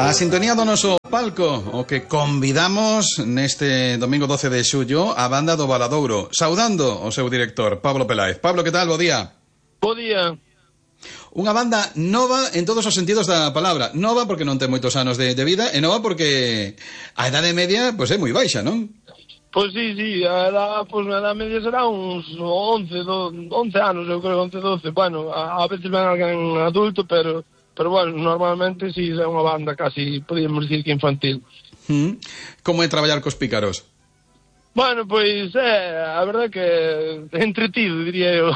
A sintonía do noso palco, o que convidamos neste domingo 12 de xullo a banda do Valadouro, saudando o seu director, Pablo Peláez. Pablo, que tal? Bo día. Bo día. Unha banda nova en todos os sentidos da palabra. Nova porque non ten moitos anos de vida, e nova porque a edade media é moi baixa, non? Pois sí, a edade media será uns 11 anos, eu creo, 11, 12. Bueno, a veces ven alguén adulto, pero bueno, normalmente sí é unha banda casi, podíamos dicir que infantil. Como é traballar cos pícaros? Bueno, pois a verdade que entretido, diría eu.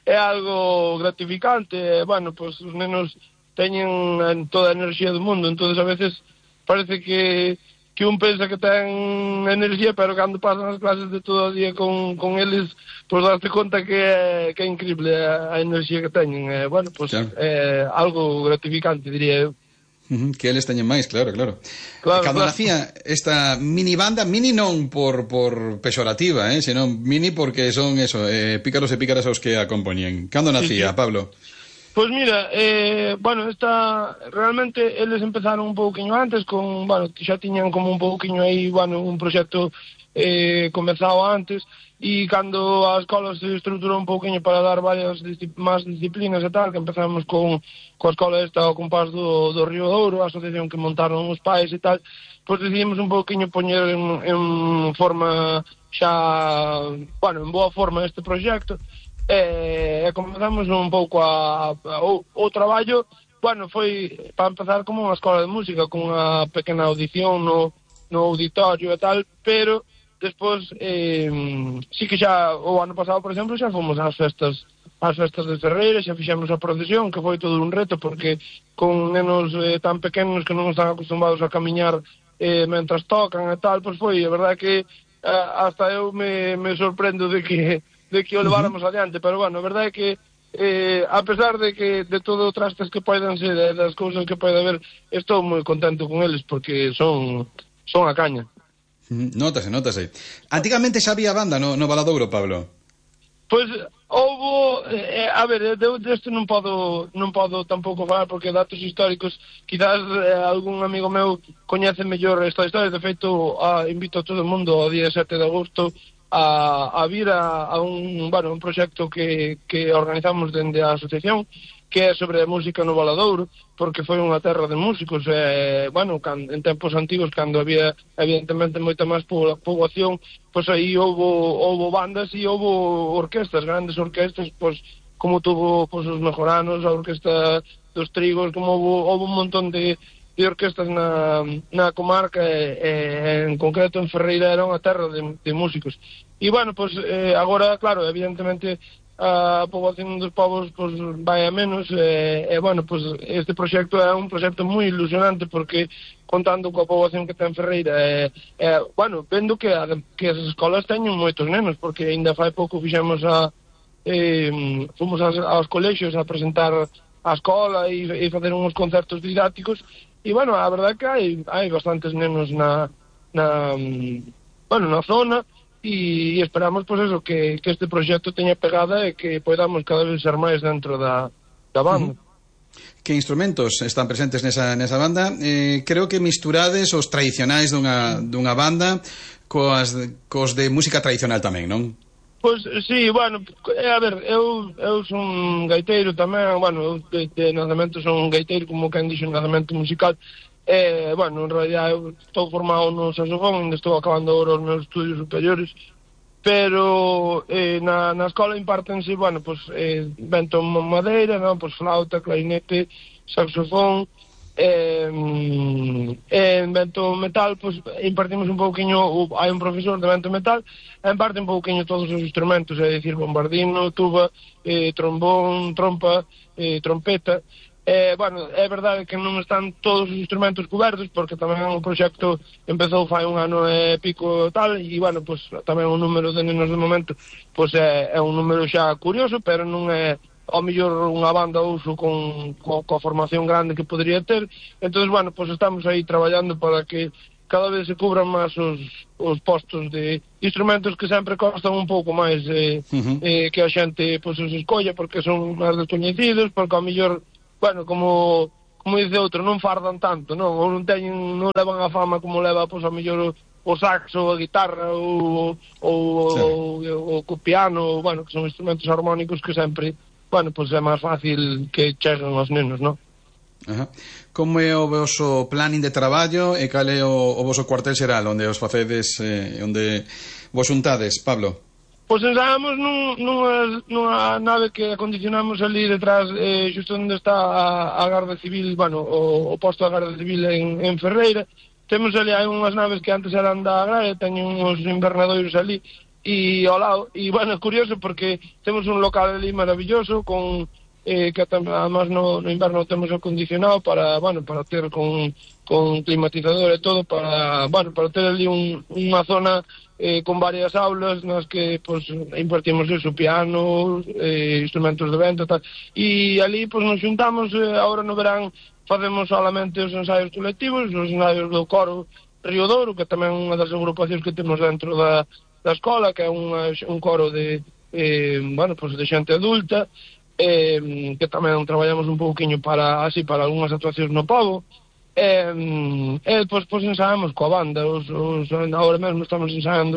É algo gratificante. Bueno, pois os nenos teñen toda a enerxía do mundo, entonces a veces parece que un pensa que ten enerxía, pero cando pasan as clases de todo o día con eles, pois darte conta que é increíble a enerxía que teñen. Bueno, pois claro, é algo gratificante, diría eu. Que eles teñen máis, claro. Cando nacía esta mini banda, mini non por pexorativa, senón mini porque son pícaros e pícaras os que a compoñen. Cando nacía, sí. Pablo? Pois mira, bueno, realmente eles empezaron un pouquiño antes xa tiñan como un pouquiño aí, un proxecto comezado antes, e cando a escola se estruturou un pouquiño para dar varias máis disciplinas e tal, que empezamos coa escola ao compás do Río Douro, a asociación que montaron os pais e tal, pois decidimos un pouquiño poñer en forma xa, en boa forma este proxecto. Comenzamos un pouco o traballo, foi para empezar como unha escola de música, con unha pequena audición no auditorio e tal, pero despois sí que xa o ano pasado, por exemplo, xa fomos ás festas de Ferreira, xa fixemos a procesión, que foi todo un reto, porque con nenos tan pequenos que non están acostumbrados a camiñar mentras tocan e tal, pois foi, a verdade que hasta eu me sorprendo de que o leváramos adiante, pero a verdade é que a pesar de todo o trastes que poden ser, das cousas que pode haber, estou moi contento con eles, porque son a caña. Nótase. Antigamente xa había banda no Valadouro, Pablo? Pois houbo, deste non podo tampouco falar, porque datos históricos, quizás algún amigo meu coñece mellor esta historia. De feito, invito a todo o mundo ao día 7 de agosto a vir a un proxecto que organizamos dende a asociación, que é sobre a música no Valadouro, porque foi unha terra de músicos. En tempos antigos, cando había evidentemente moita máis poboación, pois aí houbo bandas e houbo orquestas, grandes orquestas, pois como tuvo os Mejoranos, a Orquesta dos Trigos, como houbo un montón de orquestas na comarca, en concreto en Ferreira era unha terra de músicos. E agora, claro, evidentemente a poboación dos povos vai a menos, este proxecto é un proxecto moi ilusionante, porque contando coa poboación que ten Ferreira, vendo que as escolas teñen moitos nenos, porque ainda fai pouco fomos aos colexios a presentar a escola e facer uns concertos didácticos, e a verdade é que hai bastantes nenos na zona, e esperamos que este proxecto teña pegada e que podamos cada vez ser máis dentro da banda. Que instrumentos están presentes nesa banda? Creo que misturades os tradicionais dunha banda cos de música tradicional tamén, non? Pois sí, eu son gaiteiro tamén, eu de nacemento son gaiteiro, como quen dixo, nacemento musical. En realidad eu estou formado no saxofón, ainda estou acabando agora os meus estudios superiores, pero na escola impártense, vento madeira, flauta, clarinete, saxofón, vento metal, impartimos un pouquiño, hai un profesor de vento metal, imparte un pouquiño todos os instrumentos, é dicir, bombardino, tuba, trombón, trompa, trompeta. É verdade que non están todos os instrumentos cobertos, porque tamén o proxecto empezou fai un ano e pico tal, e tamén o número de nenos de momento é un número xa curioso, pero non é ao mellor unha banda uso coa formación grande que podría ter. Entón, estamos aí traballando para que cada vez se cubran máis os postos de instrumentos que sempre costan un pouco máis que a xente os escolla, porque son máis descoñecidos, porque ao mellor como como dice outro, non fardan tanto, non? Ou non levan a fama como leva, pois, a mellor o saxo, a guitarra, o piano, bueno, que son instrumentos armónicos que sempre, bueno, pois é máis fácil que cheguen aos nenos, non? Ajá. Como é o voso planning de traballo e cal é o voso cuartel xeral onde os facedes, onde vos xuntades, Pablo? Pois ensaiamos nunha nave que acondicionamos ali detrás, xusto onde está a Garda Civil, bueno, o posto da Garda Civil en Ferreira. Temos ali, hai unhas naves que antes eran da Agraria, teñen uns invernadoiros ali e ao lado, e bueno, é curioso porque temos un local ali maravilloso con que además no inverno temos acondicionado para, bueno, para ter con climatizador e todo, para, bueno, para ter ali unha zona con varias aulas nas que, pues, impartimos eso, piano, instrumentos de vento e tal, e ali, pues, nos xuntamos, agora no verán facemos solamente os ensaios colectivos, os ensaios do coro Río Douro, que tamén é unha das agrupacións que temos dentro da escola, que é un coro de, bueno, pues, de xente adulta, que tamén traballamos un pouquiño para algunhas actuacións no pobo, pois ensaiamos coa banda, agora mesmo estamos ensaiando